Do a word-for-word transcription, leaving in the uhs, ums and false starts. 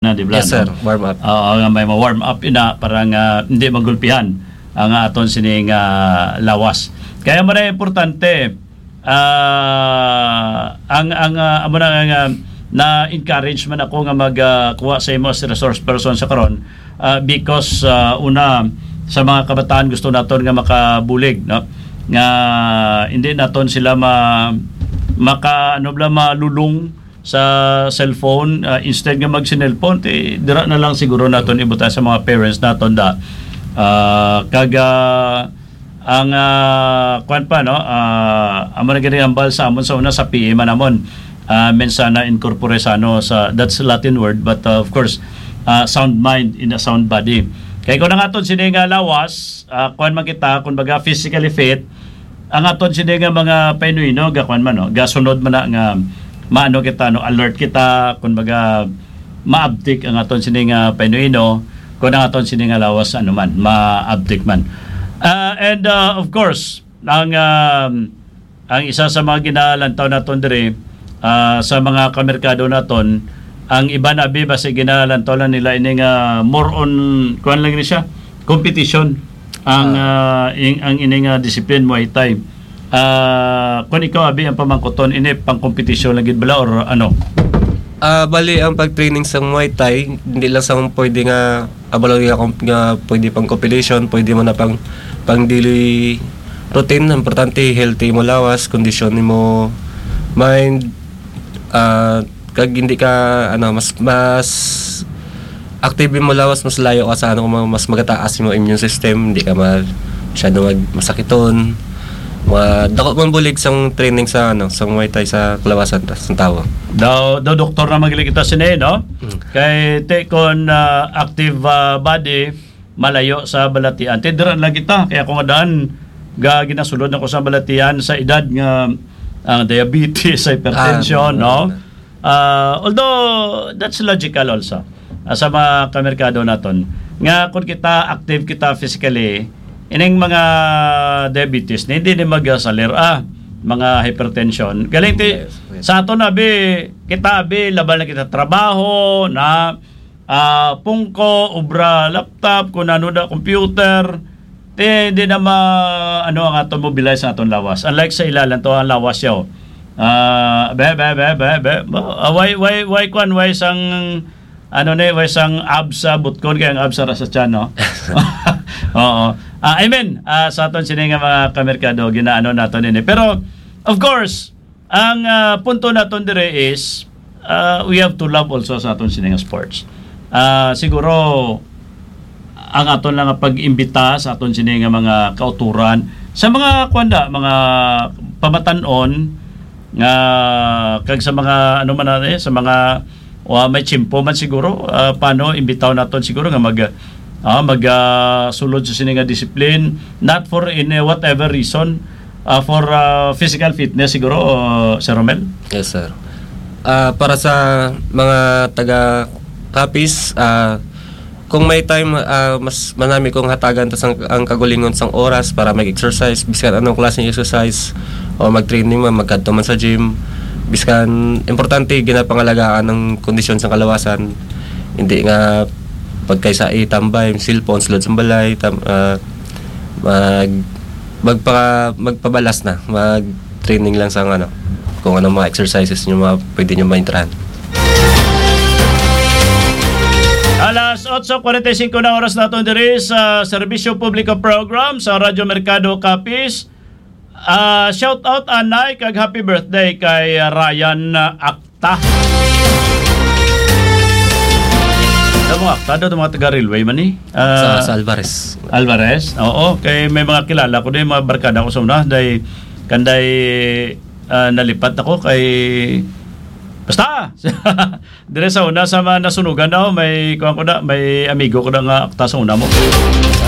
na, di ba? Yes, sir. Warm up. Oo, nga may ma-warm up ina para nga hindi magulpihan ang aton sining, ah, lawas. Kaya mo na importante, ah, ang, ang, ah, amo na nga, na-encourage man ako nga mag, ah, kuha sa imo as resource person sa karon, ah, because, ah, una, sa mga kabataan gusto naton nga makabulig, no? Nga hindi naton sila ma-, maka, ano bala, malulong sa cellphone, ah, instead nga mag-cellphone, ti, dira na lang siguro naton ibutang sa mga parents naton da. Ah, kag, ah, ang, ah, kwan pa, no? Ah, amo na gani ang bal sa amon sa una sa P E man namon. Ah, mensana in corpore sano sa, that's Latin word, but, uh, of course, ah, sound mind in a sound body. Kay kung ang aton sini nga lawas, ah, kwan man kita, kung baga physically fit, ang aton sini nga mga painuino, ga kwan man, no? Gasunod man na nga maano kita, no? Alert kita, kung baga maabtik ang aton sini nga painuino, kung ang aton sini nga lawas, ano man, maabtik man. Ah, and, ah, of course, ang, um, ang isa sa mga ginalantaw naton diri, ah, sa mga kamerkado naton, ang iban abi basi ginalantaw lang nila ini nga more on, kuan lang ni siya, competition. Ang, Ah. ah, ing-, ang ini nga discipline, Muay Thai. Ah, kung ikaw abi ang pamangkuton, ini pang competition lang gid bala or ano? Ah, bali ang pag-training sa Muay Thai, hindi lang sa pwede nga abalo nga, nga pwede pang competition, pwede mo na pang, pang daily routine. Importante, healthy mo lawas, kondisyon mo mind, ah, kag hindi ka, ano, mas, mas active mo lawas, mas layo ka sa, ano, mas magataas mo immune system, hindi ka ma-, masyado mag-, masakiton. Mga dako man bulig sang training sa, ano, sa Muay Thai sa kalawasan ta-, sa tawo. Daw, daw doktor na magili kita sini, no? Mm. Kay te kon, ah, active, ah, body, malayo sa balatian. Te dira lang kita, kaya kung daan, ga ginasulod ako sa balatian sa edad nga ang diabetes, hypertension, Ah, no? Ah, although, that's logical also, ah, sa mga kamerkado naton. Nga kung kita active kita physically, ining mga diabetes, ni hindi ni magsalir, ah, mga hypertension. Galing ti, Yes, yes. sa aton abi, kita abi, laban na kita trabaho, na, ah, pungko, obra, laptop, kung ano na, computer, ti, hindi na ma-, ano ang aton mobilize ang aton lawas. Unlike sa ilalan to, ang lawas yaw. Ah, be, be, be, be, be. Ba, ah, why, why, why, kwan, why sang, ano ni, why sang abs sa butkon kay ang abs sa, sa tiyan, no? Oo. Ah, I mean, ah, sa aton sini nga mga kamerkado, ginaano naton ini. Pero, of course, ang, ah, punto naton dire is, ah, we have to love also sa aton sini nga sports. Ah, siguro, ang aton lang nga pag-imbita sa aton sini nga mga kauturan, sa mga, kuwan da, mga pamatan-on nga, kag sa mga, ano man na, eh, sa mga, wa, may tiyempo man siguro, ah, paano imbitaw naton siguro nga mag, ah, mag, ah, sulod sa sini nga discipline, not for any whatever reason, ah, for, ah, physical fitness siguro, ah, Sir Romel? Yes, sir. Ah, para sa mga taga Capiz, ah, kung may time, ah, mas manami kong hatagan tas ang, ang kagulingon sang oras para mag-exercise, biskan anong klaseng exercise, o mag-training man, magkadto man sa gym, biskan importante, ginapangalagaan ang kondisyon sang kalawasan. Hindi nga pagkaysa itambay, cellphone, sulod sa balay, tam-, ah, mag-, magpa-, magpabalas na, mag-training lang sa, ano, kung anong mga exercises nyo, mga pwede nyo maintrahan. Alas otso cuarenta y cinco na oras naton diri sa Serbisyo Publiko Program sa Radyo Merkado Capiz. Ah, shout out anay kag happy birthday kay Ryan, ah, Akta. Sa mga Akta, daw mga taga Railway man ni. Sa, Ah, sa Alvarez. Alvarez. Oo, kay may mga kilala ko din, mga barkada ko sa una, day, kanday, ah, nalipat ako kay, basta, dire sa una sa mga nasunugan daw, may, kuwan ko na, may amigo ko na nga Akta sa una mo.